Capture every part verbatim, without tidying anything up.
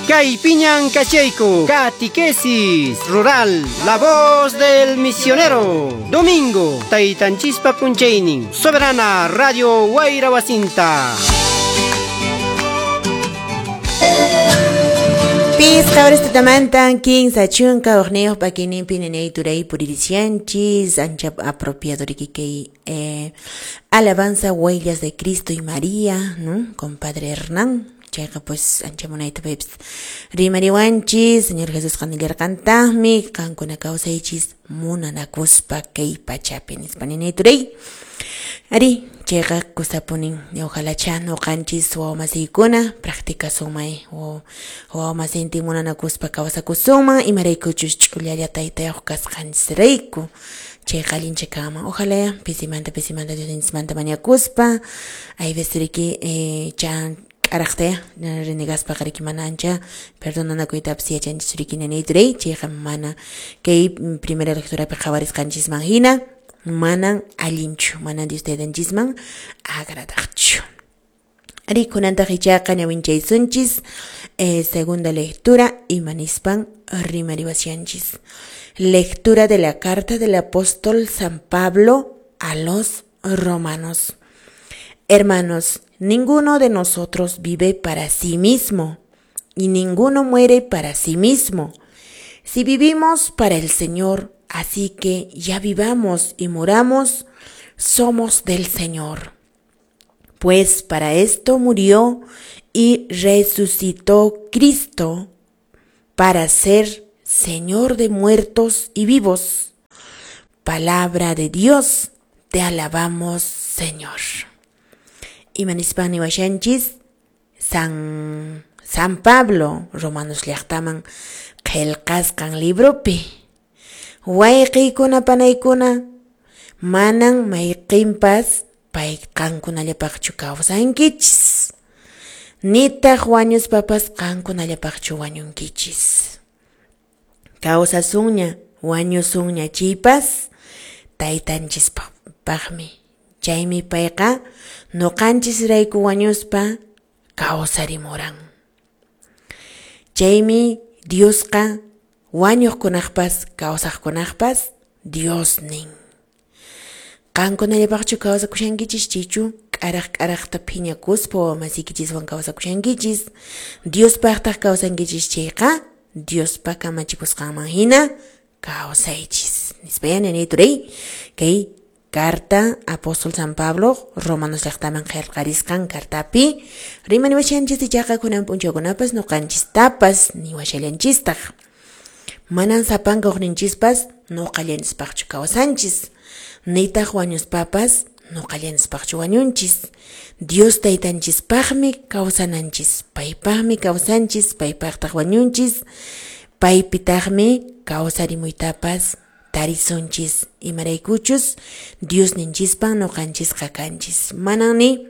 Kaypiñan kachayku, Catequesis Rural, la voz del misionero. Domingo, Taytanchispa p'unchaynin, Soberana Radio Wayra Wasinta. Pisqa horas tutamantan kinsa chunka hukniyuq p'akiyninpi ninay turay puririsianchis ancha apropiado riki kay eh, alabanza huellas de Cristo y María, ¿no? Con Padre Hernán. Chayqa pues ancha munayta paypis rimariwanchis, Señor Jesús qanillarqantaqmi qankuna kawsaychis munanakuspa kay pachapi nispa ninay turay. Ari, chayqa kusapunin ojalá ñuqanchis wawamasiykuna practicasunmay wawamasintin munanakuspa kawsakusunman imaraykuchus ch'ullalla taytayuq kasqanchisrayku chayqa allincha kanman ojalá pisimanta pisimanta Diosninchismanta mañakuspa hay veces riki eh, chan k'araqta renegaspaqa riki mana ancha perdonanakuytapas yachanchis riki nanay turay chayqa mana kay primera lecturapi qhawarisqanchisman hina manan allinchu manan Dios taytanchisman agradaqchu. Ari kunantaq ichaqa ñawinchaysunchis eh, segunda lectura imanispan rimariwashanchis. Lectura de la carta del apóstol San Pablo a los romanos. Hermanos, ninguno de nosotros vive para sí mismo y ninguno muere para sí mismo. Si vivimos para el Señor, así que ya vivamos y muramos, somos del Señor. Pues para esto murió y resucitó Cristo, para ser Señor de muertos y vivos. Palabra de Dios, te alabamos, Señor. Imanispan niwashanchis, San, San Pablo, Romanos llaqtaman qillqasqan libropi. Wayqiykuna panaykuna, manan mayqinpas pay qankunallapaqchu kawsankichis. Nitaq wañuspapas qankunallapaqchu wañunkichis. Kawsasunña, wañusunña chaypas taytanchispaqmi. Chaymi payqa ñuqanchisrayku wañuspa kawsarimuran. Chaymi Diosqa wañuqkunaqpas kawsaqkunaqpas Dios nin. Qankunallapaqchu kawsakushankichis chaychu k'araq k'araqta phiñakuspa wawamasiykichiswan kawsakushankichis. Diospaqtaq kawsankichis chayqa Diospa kamachikusqanman hina kawsaychis. Nispa nanay turay kay carta apóstol San Pablo Romanos llaqtaman qillqarisqan cartapi rimaniwashanchis ichaqa kunan p'unchawkunapas ñuqanchistapas niwashallanchistaq. Manan sapanka uqninchispas ñuqallanchispaqchu kawsanchis. Nitaq wañuspapas ñuqallanchispaqchu wañunchis. Dios taytanchispaqmi kawsananchis. Paypaqmi kawsanchis, paypaqtaq wañunchis. Paypitaqmi kawsarimuytapas tarisunchis. Imaraykuchus Dios ninchispan ñuqanchisqa kanchis. Manan ni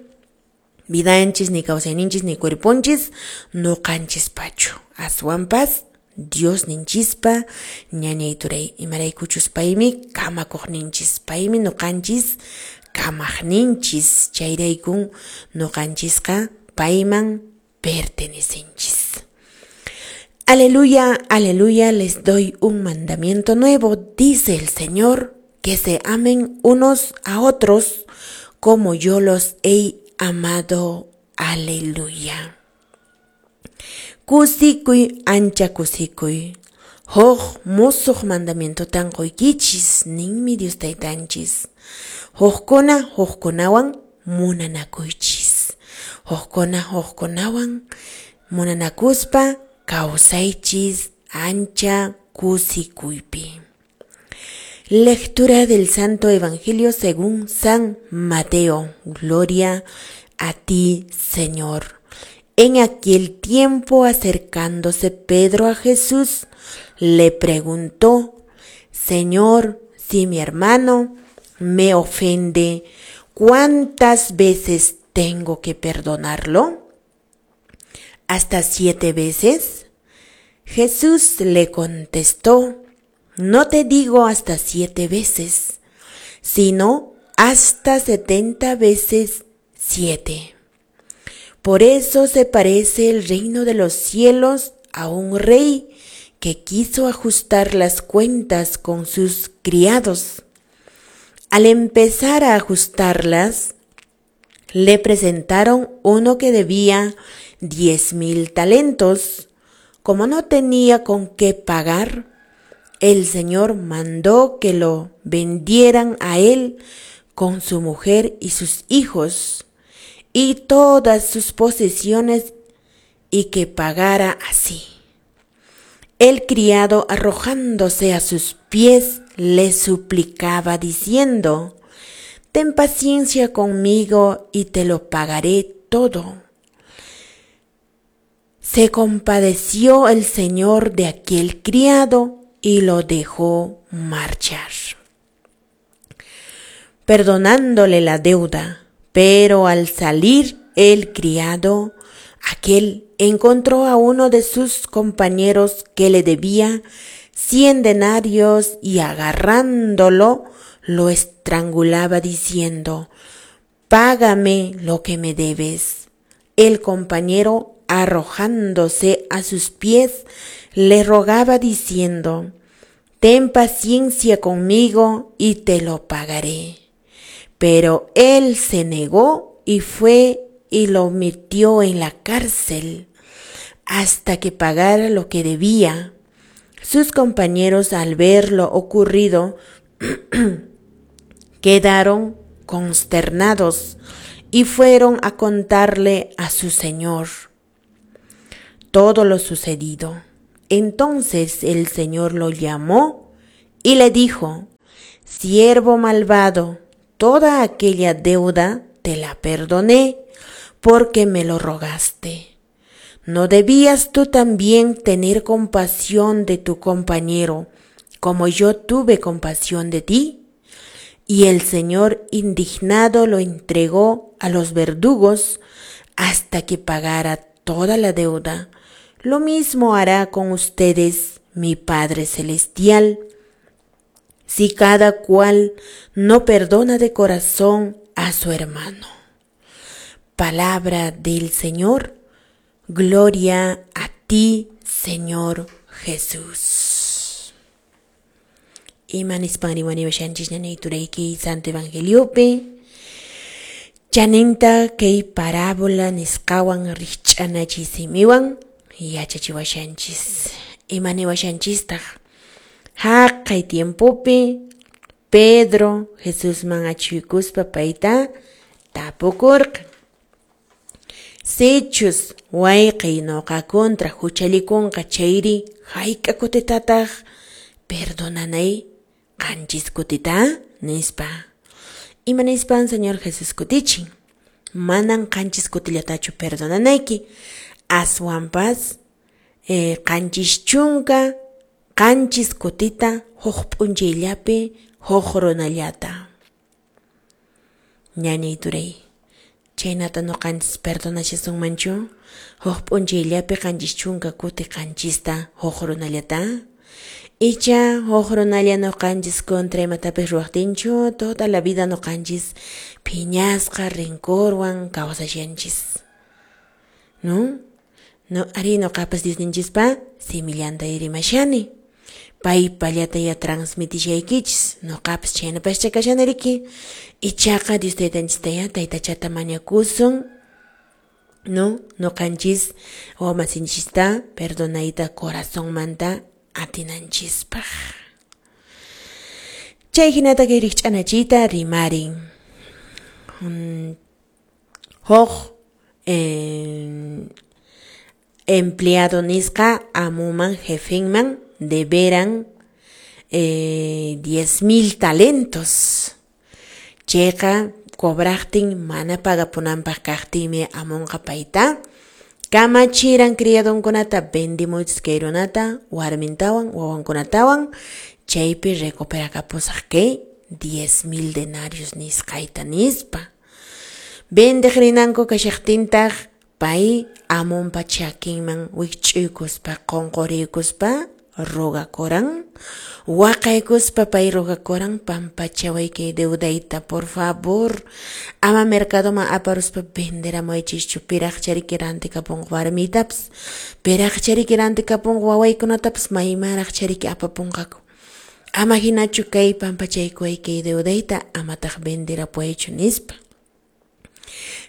vidanchis, ni kawsayninchis, ni cuerponchis ñuqanchispachu. Aswanpas Dios ninchispa ñañay turay imaraykuchus paymi kamakuqninchis, paymi ñuqanchis kamaqninchis, chayraykun ñuqanchisqa payman pertenecenchis. Aleluya, aleluya, les doy un mandamiento nuevo, dice el Señor, que se amen unos a otros como yo los he amado. Aleluya. Kusikuy, ancha kusikuy. Huk musuq mandamientotan quykichis, ninmi Dios taytanchis. Hukkuna hukkunawan munanakuychis. Hukkuna hukkunawan munanakuspa kawsaychis ancha kusikuypi. Lectura del Santo Evangelio según San Mateo. Gloria a ti, Señor. En aquel tiempo, acercándose Pedro a Jesús, le preguntó: Señor, si mi hermano me ofende, ¿cuántas veces tengo que perdonarlo? ¿Hasta siete veces? Jesús le contestó: No te digo hasta siete veces, sino hasta setenta veces siete. Por eso se parece el reino de los cielos a un rey que quiso ajustar las cuentas con sus criados. Al empezar a ajustarlas, le presentaron uno que debía diez mil talentos. Como no tenía con qué pagar, el señor mandó que lo vendieran a él con su mujer y sus hijos y todas sus posesiones, y que pagara así. El criado, arrojándose a sus pies, le suplicaba diciendo: Ten paciencia conmigo y te lo pagaré todo. Se compadeció el señor de aquel criado y lo dejó marchar, perdonándole la deuda. Pero al salir el criado, aquel encontró a uno de sus compañeros que le debía cien denarios y, agarrándolo, lo estrangulaba diciendo: Págame lo que me debes. El compañero, arrojándose a sus pies, le rogaba diciendo: Ten paciencia conmigo y te lo pagaré. Pero él se negó y fue y lo metió en la cárcel hasta que pagara lo que debía. Sus compañeros, al ver lo ocurrido, quedaron consternados y fueron a contarle a su señor todo lo sucedido. Entonces el señor lo llamó y le dijo: Siervo malvado, toda aquella deuda te la perdoné porque me lo rogaste. ¿No debías tú también tener compasión de tu compañero, como yo tuve compasión de ti? Y el señor, indignado, lo entregó a los verdugos hasta que pagara toda la deuda. Lo mismo hará con ustedes mi Padre Celestial, si cada cual no perdona de corazón a su hermano. Palabra del Señor. Gloria a ti, Señor Jesús. Ima nispan riwaniwashanchis ñañayturayki Santo Evangeliopi. Chaninta kay parábola nisqawan rikch'anachisimiwan yachachiwashanchis. Ima niwashanchistaq? Haqay tiempopi Pedro Jesusman achuykuspa payta tapukurqa: Sichus wayqiy nuqa kontra huchallikunqa chayri, hayk'a kutitataq perdonanay? Qanchis kutita, nispa. Ima nispan Señor Jesús kutichin? Manan qanchis kutillatachu perdonanayki, aswanpas eh, qanchis chunka qanchis kutita huk p'unchayllapi huk runallata. Ñañay turay, chaynata nuqanchis perdonashasunmanchu huk p'unchayllapi qanchis chunka kuti qanchista huk runallata? Icha huk runalla nuqanchis kontra imatapis ruwaqtinchu toda la vida nuqanchis phiñasqa rencorwan kawsashanchis, ¿no? No, ari nuqapas Diosninchispa simillanta rimashani. Paypallata ya transmitishaykichis, nuqapas chaynapascha kashani riki. Ichaqa Dios taytanchista ya taytachata mañakusun, no? Nuqanchis wawamasinchista perdonayta corazonmanta atinanchispaq. Chay hinata kay rikch'anachiyta rimarin. Huk eh, empleado nisqa amuman jefenman deberan eh, diez mil talentos. Chayqa cobraqtin mana pagapunanpaq kaqtinmi amunqa payta kamachiran criadonkunata vendimuychis kay runata warmintawan wawankunatawan, chaypi recuperakapusaq kay diez mil denarios nisqayta nispa. Vendeq rinanku kashaqtintaq pay amunpa chakinman wikch'uykuspa qunquriykuspa rogakuran? Waqaykuspa pay rogakuran, pampachaway kay deudayta, por favor. Ama mercadoman aparuspa venderamuychischu, piraqchariki rantikapunqa warmiytapas, piraqchariki rantikapunqa wawaykunatapas, maymanraqchariki apapunqaku. Ama hinachu kay pampachaykuway kay deudayta, amataq venderapuwaychu nispa.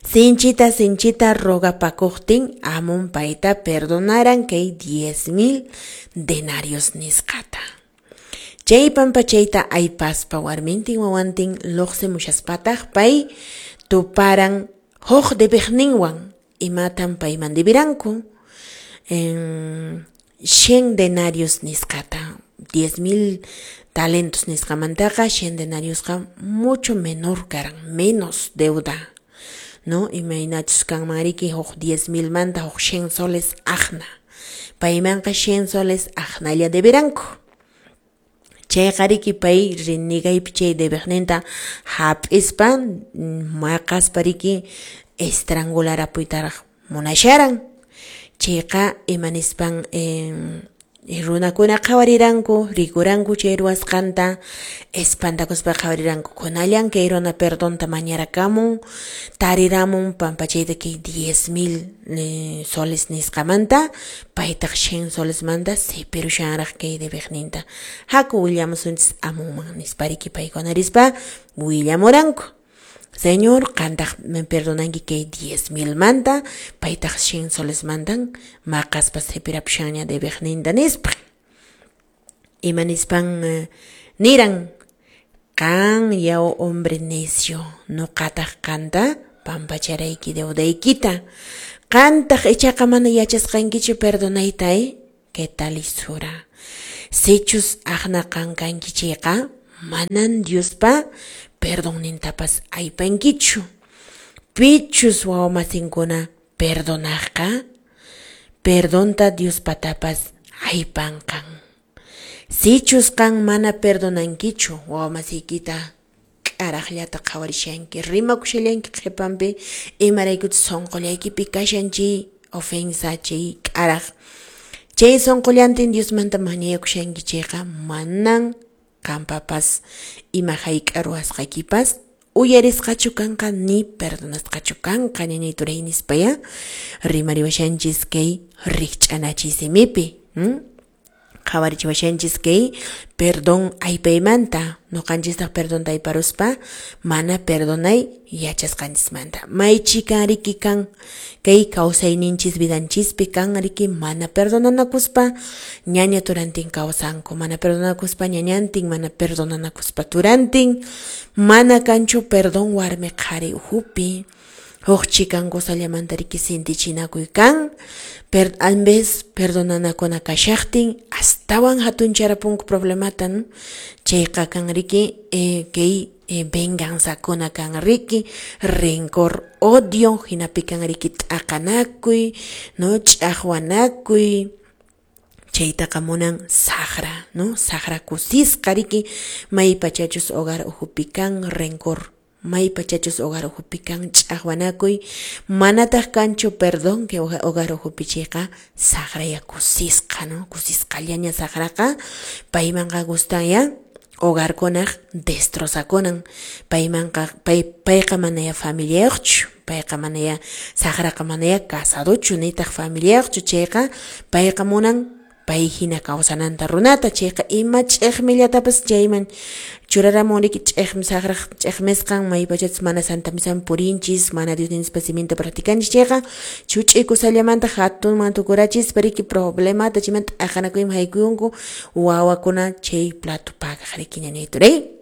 Sinchita, sinchita rogapakuqtin, amun payta perdonaran kay diez mil denarios nisqata. Chay pampachayta aypaspa warmintin wawantin luqsimushaspataq pay tuparan huk debiqninwan. Imatan payman debiranku? En cien denarios nisqata. diez mil talentos nisqamantaqa cien denariosqa mucho menor karan, menos deuda, ¿no? Imaynachus kanman riki huk diez mil manta huk cien soles aqna. Paymanqa cien soles aqnalla debiranku. Chayqa riki pay renegaypi chay debiqninta hap'ispa maqaspa riki estrangularapuytaraq munasharan. Chayqa imanispan eh, runakuna qhawariranku, rikuranku chay ruwasqanta, espantakuspa qhawariranku. Kunallan kay runa perdonta mañarakamun, tariramun pampachayta kay diez mil eh, soles nisqamanta, paytaq cien solesmanta sipirushanraq kay debiqninta. Haku willamusunchis amunman nispa riki paykuna rispa willamuranku. Señor, qantaq me perdonanki kay diez mil manta, paytaq cien soles mantan, maqaspa sipirapushanña debiqninta nispa. Ima nispan eh, niran, qan yaw hombre necio, nuqataq qanta pampacharayki deudaykita. Qantaq ichaqa mana yachasqankichu perdonayta, eh? ¿Qué tal lisura? Sichus aqna qan kanki chayqa, manan Diospa perdonnintapas aypankichu. Pichus wawamasinkuna perdonaqqa, perdonta Diospatapas aypanqan. Sichus qan mana perdonankichu wawamasiykita, k'araqllata qhawarishanki, rimakushallanki qhipanpi, imaraykuchus sunqullaykipi kashan chay ofensa, chay k'araq. Chay sunqullantin Diosmanta mañakushanki chayqa, manan qanpapas ima hayk'a ruwasqaykipas uyarisqachu kanqa ni perdonasqachu kanqa ñañay turay nispa ya rimariwashanchis kay rikch'anachiy simipi. Hmm? Qhawarichiwashanchis kay perdón aypaymanta, nuqanchistaq perdonta ayparuspa mana perdonay yachasqanchismanta. May chikan riki kan kay kawsayninchis vidanchispi kan riki mana perdonanakuspa ñaña turantin kawsanku, mana perdonanakuspa ñañantin, mana perdonanakuspa turantin, mana kanchu perdón warmi qhari uhupi. Huk chikan kusallamanta riki sintichinakuy kan, per, en vez perdonanakuna kashaqtin astawan hatuncharpunku problemata, ¿no? Chayqa kan riki eh, kay eh, venganzakuna kan riki, rencor, odio, hinapi kan riki t'aqanakuy, no, ch'aqwanakuy. Chaytaqa munan saqra, no, saqra kusisqa riki, maypachachus hogar uhupi kan rencor, maypachachus hogar uhupi kan ch'aqwanakuy, manataq kanchu perdón que hogar uhupi chayqa saqraya kusisqa, no, kusisqallaña saqraqa, paymanqa gustan ya hogarkunaq destrozakunan, paymanqa pay payqa manaya familiayuqchu, payqa manaya saqraqa manaya casadochu nitaq familiayuqchu, chayqa payqa munan pay hina kawsananta runata, chayqa ima ch'iqmillatapas chayman churaramun riki ch'iqmi saqraq ch'iqmisqan, maypachachus mana santa misaman purinchis, mana Diosninchis siminta practicanchis chayqa chuch'ikusallamanta hatunman tukurachispa riki problemata chaymanta t'aqanakuyman haykuyunku wawakuna chay plato pagaq riki ñañay turay.